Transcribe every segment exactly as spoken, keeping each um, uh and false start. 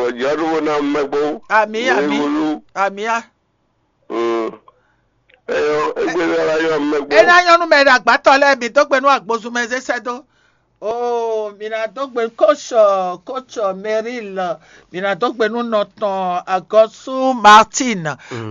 Ejɔ ɖo vo na mɛ kpó. Ami, ami, Wulu. Amia. Mm. Eyɔ, egbe la la yɔ mɛ kpó. Ena nyɔnu mɛ ɖe agbatɔ lɛ mi dó gbe nú agbozumɛ zé sɛ́ dó. Oo, mi ná dó gbe kótsɔ kótsɔ Meril, mi ná dó gbe nú nɔtɔn Agɔsu Martin.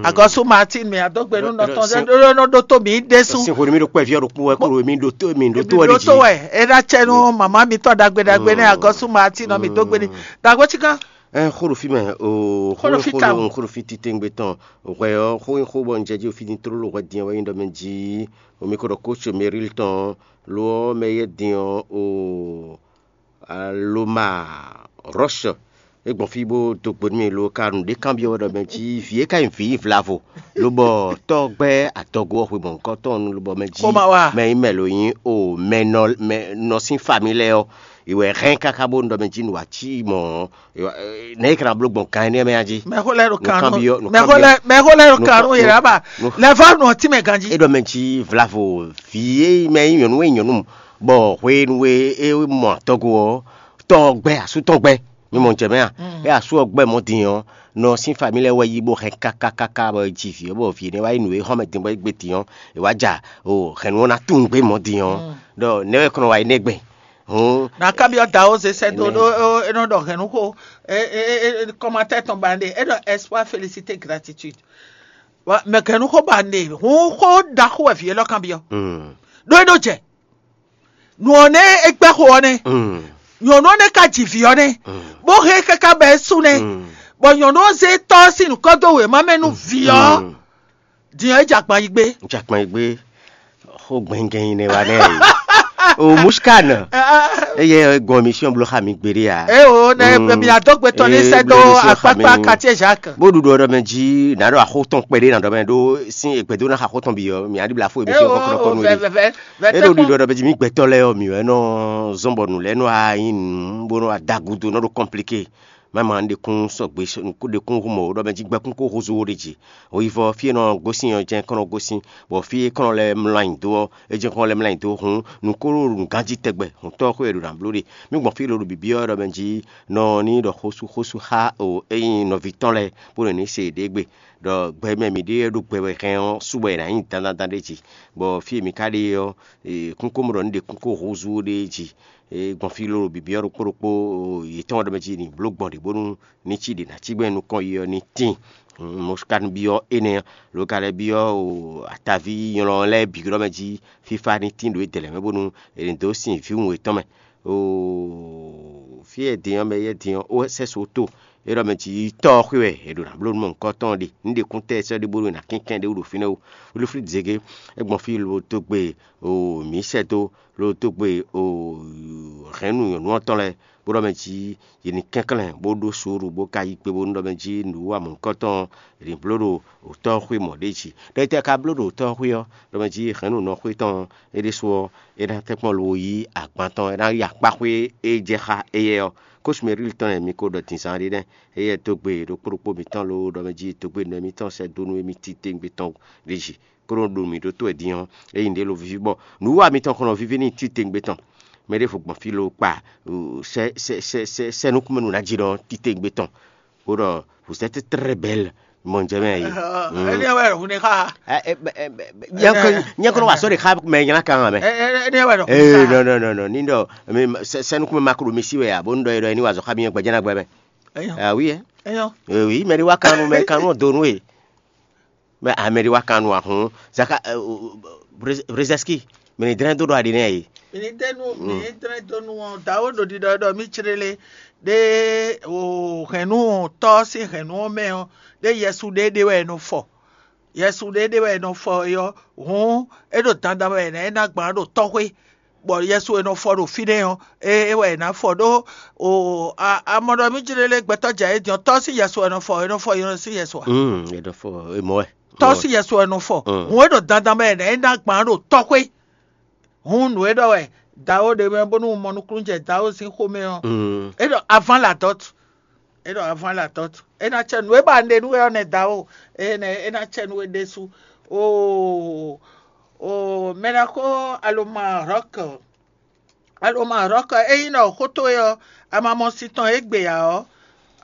Agɔsu Martin, mi ná dó gbe nú nɔtɔn zé ɖó nɔ ɖó tó mi ɖésú. Sin xori mi ɖo kpɛ viɔ ɖokpó wɛ kúrò mi ɖo tó mi ɖo tó wɛ ɖi. Ɖó tó wɛ, ena tsɛ nú mama mi tɔ dagbe dagbe nɛ Agɔsu Martin nɔ mi dó gbe ní. Dagbe tsi kan. Ɛ xó ɖo fí mɛ o. Xó ɖo fí tawun. Xó ɖo fí titengbe tɔn. Hwɛ ɔ́, xó nyí xó bɔ un jɛ jí o fí din tlóló hwɛ din ɔ́ wɛ nyí ɖɔ mɛ jí omi ko ɖɔ kóso Meril tɔn lo ɔ́ mɛ yɛ din ɔ́ o. Aloma Rɔ́sh é gbɔn fí bó dó gbe nú mì lo ka nǔɖé kanbyɔ́ wɛ ɖɔ mɛ jí vǐ é ka nyí vǐ vlavo lobɔ tɔ́ gbɛ́ adɔgo ɔ́ xwe mɔ̌hunkɔtɔn nu lobɔ mɛ jí Xó ma wa. Mɛ nyí mɛ lo nyí o mɛ nɔ mɛ nɔ sín fami lɛ́ɛ ɔ́, è wɛ hɛn káká bónú ɖɔ mɛ jí nǔ wá cí mɔ̌ ɔ́, nɛ̌ è ka ná bló gbɔn gan énɛ́ mɛ a jí? Mɛxó lɛ́ɛ ɖo Nǔ kan kanbyɔ́- nú nǔ mɛxó kanbyɔ́- lɛ́ɛ mɛxó lɛ́ɛ ɖo nǔ kan kan- nú yě ɖaba. Nǔ- Lɛ̌vɔ́ nɔ ɔ́ tínmɛ ganjí. É ɖɔ mɛ jí vlavo vǐ e mɛ nyí nyɔ̌nu e nyɔ̌nu bɔ hwenu e é mɔ atɔgo ɔ́, tɔ́ ɔ́ gbɛ́ asú tɔn gbɛ́. Mi mɔ jɛ mɛ a? É asú ɔ́ gbɛ́ mɔ̌ din ɔ́, nɔ sín fami lɛ́ɛ wɛ yí bó hɛn kákákáká bɔ é ji vǐ ɔ́, bɔ vǐ énɛ́ wá yí nǔ e xɔ mɛ din bɔ é gbe din ɔ́, è wá ja o hɛ̌nnu ɔ́ ná tunwun gbé mɔ̌ din ɔ́, ɖɔ nɛ̌ wɛ kɔnɔ wá yi nɛ́ gbɛn? Hǔn Na kabi ɔ da wo ze sɛ do ɖo e nɔ ɖɔ hɛn nuxo kɔmatɛ tɔn ba ne e ɖɔ espoir, félicité, gratitude. Mɛ hɛn nuxo ba ne hun xo da xo wɛ vi elɔ kan bi ɔ. Do e ɖo jɛ nu ɔ ne e gbɛ xo ɔ ne nyɔnu ɔ ne ka ji vi ɔ ne bo he kaka bɛ su ne bɔ nyɔnu ɔ ze tɔ si nukɔ do wema mɛ nu vi ɔ. Diɲɔ e jɛ agban yi gbé. Jakpan yi gbé. Xó gbɛngɛn yi nɛ wa nɛ yi. O Muskan. Eye gɔn mi siɔn blo xa mi gbeɖe ya. E o ne mi adó gbetɔ ní sɛ dó akpakpa quartier Jacques. Bó ɖuɖu ɔɖɔ mɛ jí nà ɖo axó tɔn kpɛɖé nà ɖɔ mɛ ɖó sín egbɛdó ná xa axó tɔn bi ɔ mi aɖi bla fó ebi siɔn kɔkɔrɔkɔ nu ɖi. E ɖo ɖiɖɔ ɖɔ mɛ jí mi gbɛtɔ lɛ ɔ mi wɛ nɔ zɔn bɔ nǔ lɛ nɔ ayi nǔ bó nɔ adagudo nɔ ɖo kɔmplike. Mama un ɖekún sɔgbe ɖekún hu mɔ ɖɔ mɛ jí gbɛkún kó húzú wo ɖe jí. Hweyivɔ fí e nɔ gosín ɔ́ jɛ́n kɔn nɔ gosín, bɔ fí e kɔn nɔ lɛ́ mlɔ́ ayǐ dó ɔ́, é jɛ́n kɔn nɔ lɛ́ mlɔ́ ayǐ dó. Hǔn nǔ ko ɖo nǔganjí tɛgbɛ, hǔn tɔ́ xwé e ɖo nǎ bló ɖe. Mì gbɔn fí e ɖo ɖo bǐbí ɔ́ ɖɔ mɛ jí nɔ ní ɖɔ xósú xósú xá o é nyí nɔví tɔn lɛ́ɛ bó nɔ ní se yěɖée gbe, ɖɔ gbɛ mɛ mǐ ɖe ɖo gbɛ wɛ hɛn ɔ́, sú bɔ è nǎ nyí dandandan ɖé jí, bɔ fí e mǐ ka ɖe ɔ́, kúnkómɔ ɖɔ ní ɖe kúnkó húzú ɖé jí. Gbɔn fí lólo bǐbí ɔ́ ɖokpó ɖokpó yětɔn ɖɔ mɛ jí ní bló gbɔn ɖě bónú ní cí ɖě ná cí gbɛn nukɔn yi ɔ́ ní tíin. Mɔ̌ ka ní byɔ́ énɛ́ ɔ́, lo ka lɛ́ byɔ́ ataví nylɔ lɛ́ɛ bǐ ɖɔ mɛ jí fífá ní tín ɖo é dɛ̌ lɛ́ɛ mɛ bónú è ní dó sin vǐwun yětɔn mɛ. Fí e din ɔ́ mɛ yɛ din ɔ́, ó sɛ́ so tó é ɖɔ mɛ jí tɔ́ ɔ́ xwé wɛ è ɖo nǎ bló nú mɔ nǔkɔ́tɔn ɔ́ ɖe. Ní ɖe kúntɛ́ sɛ́ ɖé bónú è nǎ kɛnklɛ́n ɖé wú ɖo fínɛ́ ó. Wlíflí zěgé, é gbɔn fí lo dó gbe o mǐ sɛ́ dó lo dó gbe o hɛ̌nnu nyɔ̌nu ɔ́ tɔn lɛ́ɛ, bó ɖɔ mɛ jí yě ní kɛnklɛ́n bó ɖó suúlu bó ka yí gbe bónú ɖɔ mɛ jí nǔ wa mɔ̌hunkɔtɔn è nǐ bló ɖo òtɔ́ xwé mɔ̌ ɖé jí. Ɖɔ étɛ́ ka bló ɖo òtɔ́ xwé ɔ́, ɖɔ mɛ jí hɛ̌nnu nɔ xwé tɔn ɔ́, é ɖésú ɔ́, é ná tɛ́nkpɔ́n lo yí agban tɔn, é ná yí akpá xwé e jɛ xá éyɛ́ ɔ́. Kósu Mɛríl tɔn lɛ́ɛ mi ko ɖɔ din zán ɖé nɛ́, éyɛ́ dó gbe ɖokpó ɖokpó mǐtɔn loo ɖɔ mɛ jí dó gbe nɔ émítɔn sɛ́ dó nú émí titewungbe tɔn ɖé jí. Kó nɔ ɖo mǐ ɖótó wɛ din ɔ́, é nyí ɖě lo víví bɔ nǔwiwa mitɔn kɔn nɔ víví n'i titewungbe tɔn. Mɛ ɖěvo gbɔn fí lo kpa sɛ sɛ sɛ sɛ sɛ nukúnmɛnu ná jí ɖɔ titewungbe tɔn. Bó ɖɔ vous êtes très belle, mɔ jɛ mɛ yi. Ɛni wɛ hun ne xa. Nyɛ kɔnɔ wa sɔ de xa mɛ nyina kan mɛ. Ɛni wɛ hun ne xa. Ee non non non non ni ɖɔ sɛ nukúnmɛ ma ko ɖo mi si wɛ a bó nu ɖɔ yi ɖɔ yi ni wa zɔ xa mi yɛn gbɛjɛ na gbɛ mɛ. Awi yɛ. Ɛyɔ. Ee wi mɛ ɖi wa kan nu mɛ kan nu donu e. Mɛ amɛ ɖi wa kan nu ahun zaka brezɛski mɛ ni dlɛn do ɖo aɖi nɛ yi. Mi ní dé nú mi ní dlɛ́n dó nú ɔ́, dǎwe ɖo ɖiɖɔ ɖɔ mí clélé ɖé o hɛ̌nnu tɔ́ sín hɛ̌nnu ɔ́ mɛ ɔ́, ɖé Yɛsu ɖé ɖé wɛ è nɔ fɔ. Yɛsu ɖé ɖé wɛ è nɔ fɔ é ɔ́, hǔn é ɖo dandan wɛ è nǎ é ná gbǎn ɖo tɔ́xwé, bɔ Yɛsu è nɔ fɔ ɖo fínɛ́ ɔ́, é é wɛ è nǎ fɔ ɖó o a a mɔ ɖɔ mí jlé lé gbɛtɔ́ jɛ é din ɔ́, tɔ́ sín Yɛsu è nɔ fɔ, è nɔ fɔ Yɛsu ǎ. Mm, e ɖɔ fɔ e mɔ wɛ. Tɔ́ sín Yɛsu è nɔ fɔ. Mm. Hǔn é ɖo dandan mɛ è nǎ é ná gbǎn ɖo tɔ́xwé. Hǔn nǔ e ɖɔ wɛ Dawo ɖe mɛ bónú un mɔ nukúnnú jɛ Dawo sín xomɛ ɔ́, é ɖɔ avant la dot. É ɖɔ avant la dot. É ná cɛ nǔ e ba un ɖe nú we ɔ́ nɛ́ Dawo. É nɛ́ é ná cɛ nú we ɖésú. Oo, oo, mɛ ná xó aloma rɔ́k. Aloma rɔ́k, ényí nɔ xó towe ɔ́, a ma mɔ sin tɔn égbé ǎ ɔ́,